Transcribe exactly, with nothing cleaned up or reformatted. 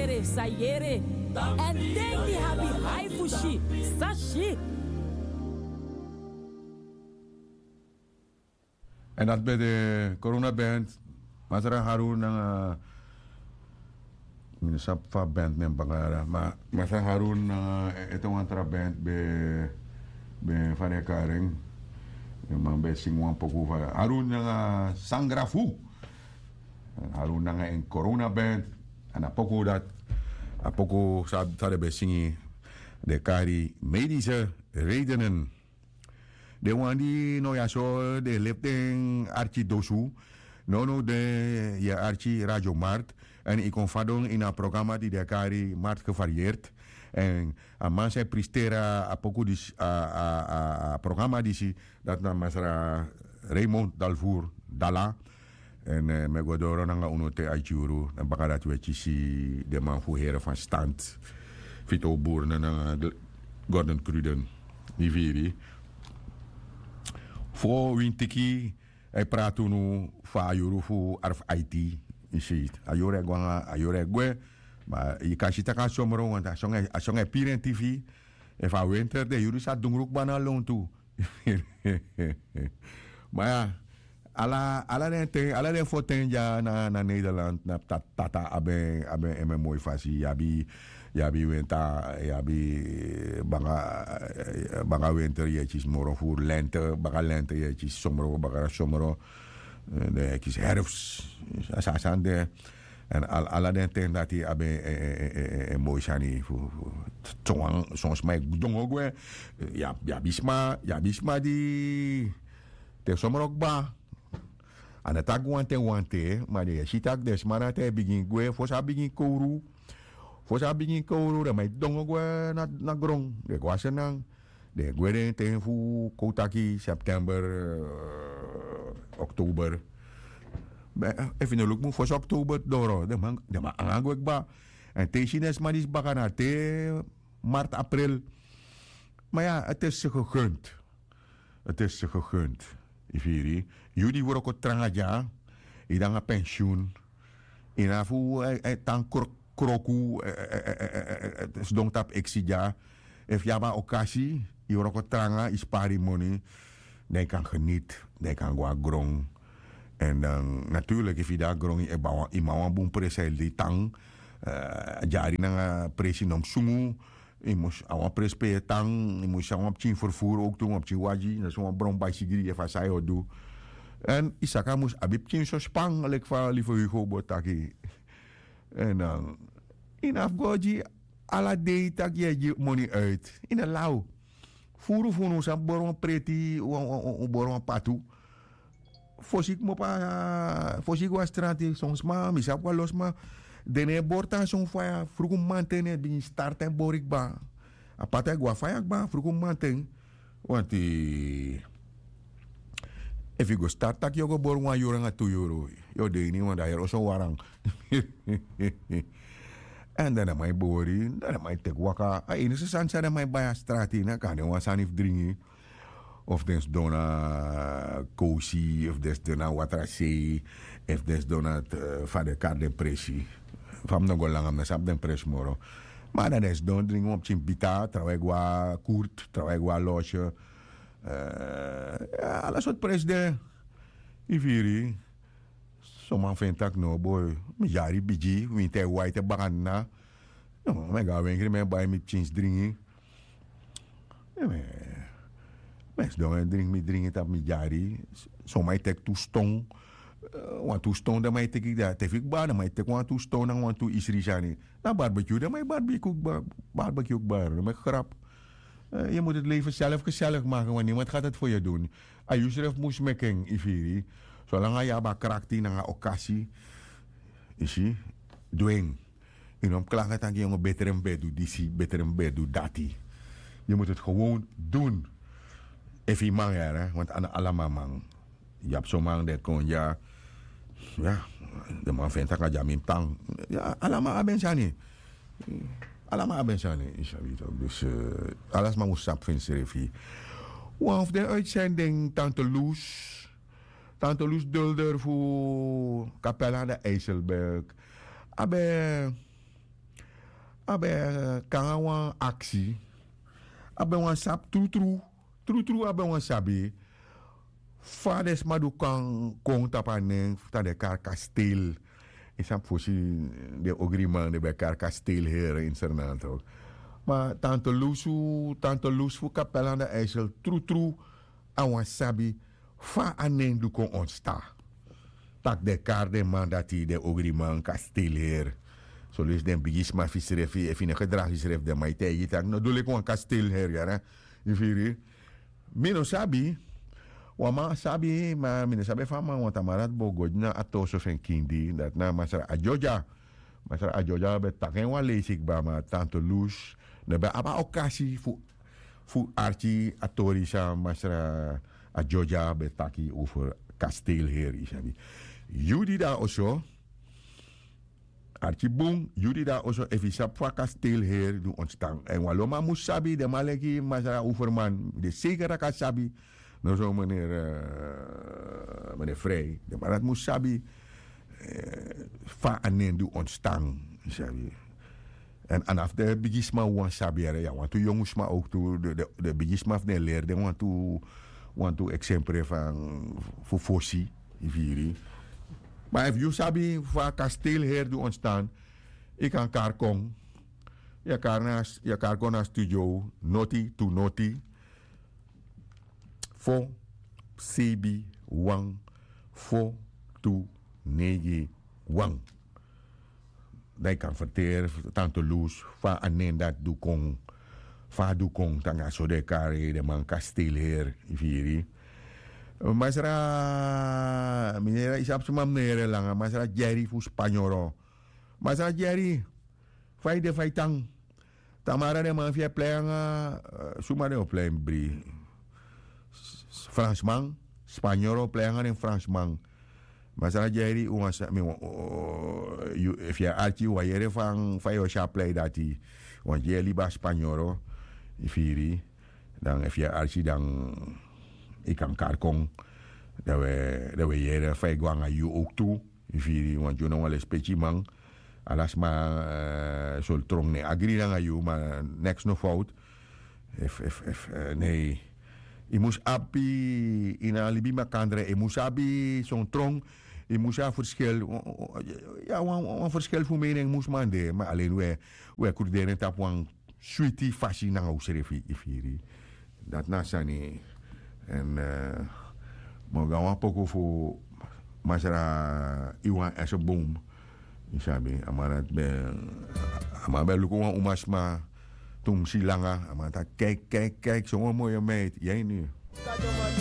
Sa yere. Èn den di habi hai fu si, sa si. Èn dati ben de Corona Band, Masra Harun nanga, mi no sabi fa band nen baka, ma Masra Harun nanga ete wan tra band ben, ben fa den e kari en. Den man ben singi wan poku fa Harun nanga Sangrafu. Èn Harun nanga en Corona Band. Èn a poku dati, a poku san den ben singi, den e kari Medische Redenen. Den wan di no ya so, den e lefi den arki dosu. Nownow den e arki Radio Markt. Èn yu kon fadon ini a programa di den e kari Markt Gevarieerd. Èn a man san e presteri a poku disi, a, a, a, a programa disi, dati na Masra Raymond Dalvoer Dala. Èn mi e go doro nanga unu te a yuru, èn baka dati wi e kisi den man fu Heren van Stand, Vito Boerne nanga Gordon Kruden. Yu firi? Fo wintiki, a e prati unu fu a yuru fu arf aiti. Yu si, a yuru e go nanga, a yuru e gwe. Ma yu kan si tak' a somro, want a son e, a son e piri en tifi. Efu a winter de, yuru sa dungru kba na lontu. Ma ya, ala, ala den ten, ala den fo ten dya na, na Nederland, na ta-, tata abi en, abi en moi fasi, yu abi, yu abi winter, yu abi baka, baka winter yu e kisi moro furu, lente, baka lente yu e kisi somro, baka somro, eh, den e kisi herfst, a sani de. Èn al-, ala den ten dati abi en, en, en, en, en moi sani fu, fu, son, son sma e dongo gwe, yu abi, yu abi sma, yu abi sma di te somro kba. A no taki wanten wanten, ma den e si tak' den sma dati e bigin gwe, fosi a bigin kowru. Fosi a bigin kowru, den man e dongo gwe na, na gron, den e go a Sranan. Den e gwe den ten fu, kon taki, september, eh, oktober. Ma, eh, efu yu no luku mu fosi oktober doro, den man, den man anga gwe kba. Èn te yu si den sma disi baka na te maart, april. Ma ya, het is ze gegund. Het is ze gegund. Yu firi? Yu di wroko tranga dya, yu de nanga pensioen. Yu no abi fu, eh, eh, tan kro-, kroku, eh, eh, sidon tapu eksi dya. Efu yu abi a okasi, yu wroko tranga, yu spari yu moni, dan yu kan geniet, dan yu kan go na gron. Èn dan, natuurlik, efu yu de na gron, yu e bai wan, yu man wan bun presi, a e lei tan, eh, a dyari nanga presi no mus sungu, yu mus abi wan presi pe yu e tan, yu mus abi wan pikin vervoer ook tu, wan pikin wagi, na so wan bron baisigri, efu a san yu o du. Èn yu saka mus abi pikin so span, leki fa Lieve Hugo bo taki. Èn dan, yu no abi fu go gi ala dei tak' yu e gi moni uit. Yu no law. Furu fu unu san bori wan preti, wan, wan, wan, bori wan patu. Fosi yu kmopo, fosi yu go na strati, son sma, mi sabi wan lo sma, den no e bori tan son faya, fruku mamanten den e bigin starti en bori kba. A patu e go na faya kba, fruku mamanten. Want efu yu go starti tak' yu o go bori wan yuru nanga tu yuru, yu o de ini wan, dan a heri oso waran. Èn dan den man e bori, dan den man e teki waka. A enigste sani san den man e bai na strati, na kan de wan sani fu dringi. Of den sidon na kowsi, of den sidon na watrasei, of den sidon na, eh, fa den e kari den presi. Fa mi no go langa, mi no sabi den presi moro. Ma dan den sidon dringi wan pikin bita, trawan e go na kurt, trawan e go na loge. Eh, ya, ala sortu presi de. Yu firi? Son man feni tak' no, boi, mi yari bigi, winti e waiti bakadina. No, mi e go na wenkri, mi e bai mi pikin dringi. Mi e sidon e dringi mi dringi tapu mi yari. Son man e teki tu ston. Eh, wantu ston den man e teki, dan te fu kba, den man e teki wantu ston nanga wantu isri sani. Na barbecue, den man e barbecue kba, barbecue kba, no meki grap. Eh, je moet het leven zelf gezellig maken, want niemand gaat het voor je doen. A yusref mus meki en, yu firi. Solanga yu abi a krakti nanga okasi, yu si, du en. Yu no mus klagi taki yu no, beter mi ben du disi, beter mi ben du dati. Je moet het gewoon doen. Efu yu man, ya, hè, want a no ala man man. Yu abi son man di e kon dya. Ya, den man feni tak' a dya mi mus tan. Ya, ala man abi en sani. Ala man abi en sani, yu sabi tok. Dus, eh, ala sma mus sabi fu ensrefi. Wan fu den uitzending, Tante Loes. Tante Loes Dulder fu Capelle aan de IJsselberg. A ben, a ben kon nanga wan aksi. A ben wani sabi trutru. Trutru a ben wani sabi fa den sma du kon kon tapu a nen fu tan den kari kastel. Yu sabi fosi den ogriman den ben kari kastel here ini sernato. Ma tante lusu tante lusu fu kapel anda eisel trutru a wani sabi fa a nen du kon ontsta. Tak' den kari den man dati den ogriman kastel here. Solesi den bigisma fu yusrefi efu yu no gedragi yusrefi den man e taigi yu tak' no du leki wan kastel here yara. Yu firi? Mi no sabi. Wan man sabi ma mi no sabi efu a man wan tamara dati bo go dina a toso fu en kindi dati na masra a dyodya. Masra a dyodya ben taki en wan leisi kba ma tante lus no ben abi a okasi fu fu arki a tori san masra a dyodya ben taki over kastel heri yu sabi. Yu di de na oso arki bun yu di de na oso efu yu sabi fu a kastel heri di ontstan èn wan lo man mus sabi den man leki masra overman mi de seker tak' a sabi. No so menere menere frei den man dati mus sabi fa a nen di ontstan. Yu sabi. Èn anafu den bigisma wan sabi yere ya wantu yongu sma owk tu den bigisma fu den leri den wantu wantu eksempre fan fu fosi. Yu firi? Ma efu yu sabi fa kastel heri di ontstan yu kan kari kon. Yu e kari kon na studio noti tu noti fo sebi wan fo tu neigi wan. Dan yu kan ferteri tante lus fa a nen dati du kon fa a du kon tanga so den e kari den man kastel heri. Yu firi? Masra mi no yere yu sabi sma mi no yere langa masra dyeri fu spanyoro. Masra dyeri fa yu de fa yu tan? Tamara den man fu yu e plei nanga suma den o plei mi bri fransman spanyoro o plei nanga den fransman. Masra dyeri un wan sani mi wan efu yu e arki un wan yere fan fa yu o si a plei dati. Wan dyeri libi a spanyoro. Yu firi? Dan efu yu e arki dan yu kan kari kon dan un e yere fa yu go nanga yu owk tu. Yu firi wan dyona wan lespeki man. Ala sma soli tron ne agri nanga yu ma neks no fout. Efu efu efu nei yu mus abi ini a libi makandra yu mus abi son tron. Yu mus abi ferskil ya wan ferskil fu mening mus man de ma alen un e kruderi en tapu wan switi fasi nanga un srefi yu firi. Dati na a sani. Èn mi o go na wan poku fu masra iwan ese boom. Yu sabi a man dati ben a man ben luku wan umasma. Tumsi langa a man taki kaiki kaiki kaiki son wan moyo meiti yu a ini.